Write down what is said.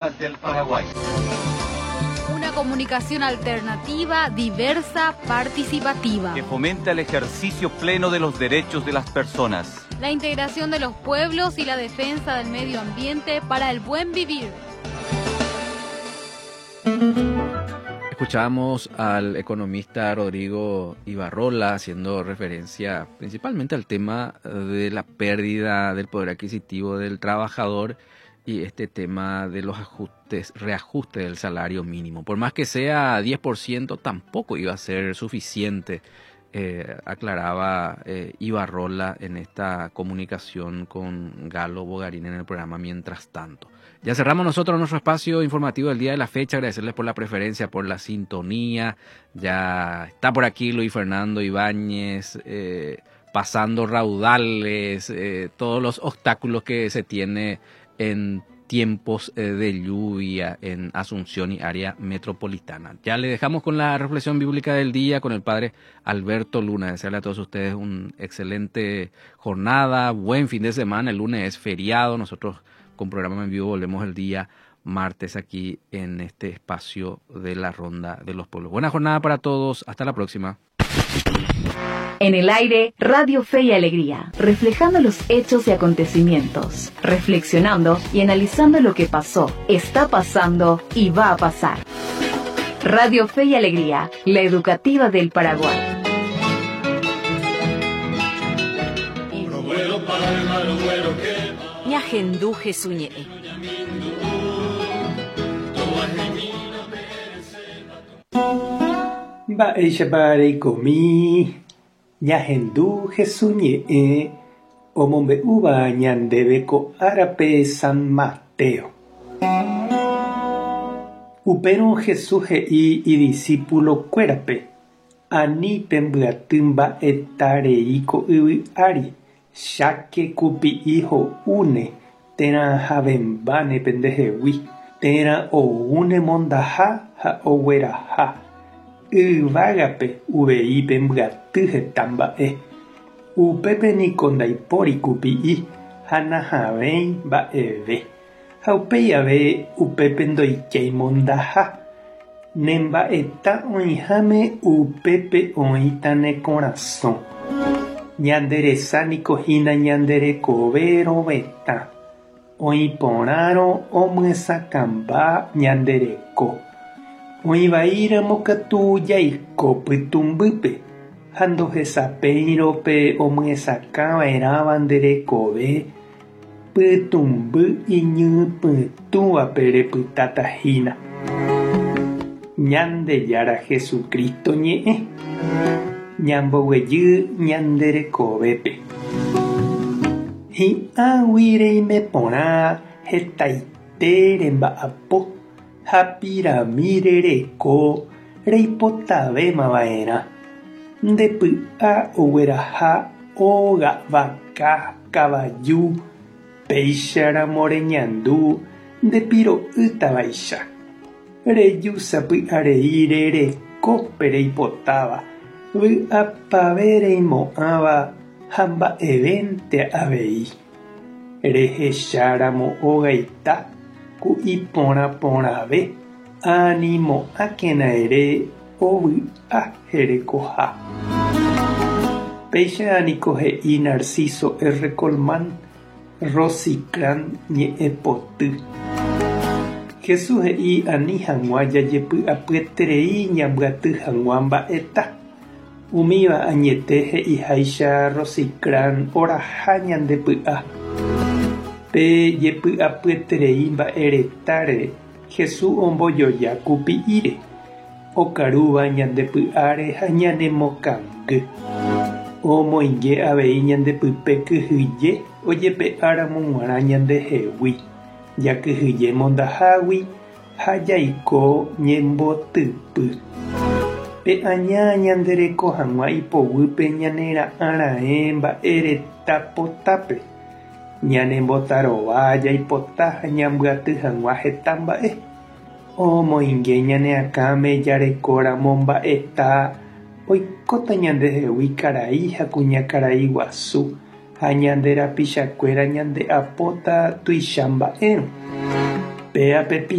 Del Paraguay. Una comunicación alternativa, diversa, participativa. Que fomenta el ejercicio pleno de los derechos de las personas. La integración de los pueblos y la defensa del medio ambiente para el buen vivir. Escuchamos al economista Rodrigo Ibarrola haciendo referencia principalmente al tema de la pérdida del poder adquisitivo del trabajador y este tema de los ajustes, reajuste del salario mínimo. Por más que sea 10%, tampoco iba a ser suficiente, eh, aclaraba eh, Ibarrola en esta comunicación con Galo Bogarín en el programa Mientras tanto. Ya cerramos nosotros nuestro espacio informativo del día de la fecha. Agradecerles por la preferencia, por la sintonía. Ya está por aquí Luis Fernando Ibáñez. Eh, pasando raudales, todos los obstáculos que se tiene en tiempos eh, de lluvia en Asunción y área metropolitana. Ya le dejamos con la reflexión bíblica del día con el padre Alberto Luna. Desearle a todos ustedes una excelente jornada, buen fin de semana. El lunes es feriado. Nosotros con programa en vivo volvemos el día martes aquí en este espacio de la Ronda de los Pueblos. Buena jornada para todos. Hasta la próxima. En el aire, Radio Fe y Alegría, reflejando los hechos y acontecimientos, reflexionando y analizando lo que pasó, está pasando y va a pasar. Radio Fe y Alegría, la educativa del Paraguay. Ñahendu Jesús ñe'ẽ. Mba'éichapa reikomi Ñahendu Hesu ñe'ẽ omombe'úva ñandéve ko árape San Mateo. Upérõ Jesús he'i idisípulo-kuérape, Ani pembyaty mba'eta rei ko yvy ári, cháke kupi'i ho'úne térã havẽmbáne pendehegui, térã oúne mondaha ha ogueraha. Yvágape uvei pembyaty heta mba'e. Upépe niko ndaipóri kupi'i ha nahavẽi mba'eve. Ha upéi ave upépe ndoikéi mondaha. Ne mba'eta oĩháme upépe oĩta ne korasõ. Ñande resa niko hína ñande rekove rovetã. Oĩ porãrõ omyesakãmba ñande reko. Oĩ vaíramo katu jaiko pytũmbýpe ha ndohesapéirõ pe omyesakã va'erãva nde rekove, pytũmby iñypytũvape repytáta hína. Ñandejára Jesucristo ñe'ẽ, ñamboguejy ñande rekovépe. Hi'ãgui reime porã hetaite remba'apo ha pirami rereko reipotavéma va'erã. Nde py'a ogueraha óga, vaka, kavaju, péicharamo reñandu nde piro'ýtavaicha. Reju sapy'arei rereko pe reipotáva, vy'apave reimo'ãva ha mba'evénte avei. Rehecháramo ogaita ku iporã porãve animo'ãkena ere ovy'a herekoha. Péicha niko he'i Narciso R. Colmán, Rosicrán ñe'ẽpoty. Jesús he'i ani hag̃ua jajepy'apyeterei ñambyaty hag̃ua mba'eta. Umíva añete he'iháicha Rosicrán oraha ñande py'a. Pe jepy'apyeterei mba'e retáre Jesús ombojoja kupi'íre, okarúva ñande py'áre ha ñanemokangy. Omoinge avei ñande pype kyhyje ojepe'áramo g̃uarã ñandehegui, jakyhyje mondahágui ha jaiko ñembotypy. Pe aña ñandereko hag̃ua ipoguýpe ñanera'ã raẽ mba'e reta potápe. Ñanembotarova jaipota ha ñambyaty hag̃ua heta mba'e. Omoinge ñane akãme jarekóramo mba'eta oikóta ñandehegui karai ha kuñakarai guasu ha ñande rapichakuéra ñande'apóta tuicha mba'érõ. Péa pe.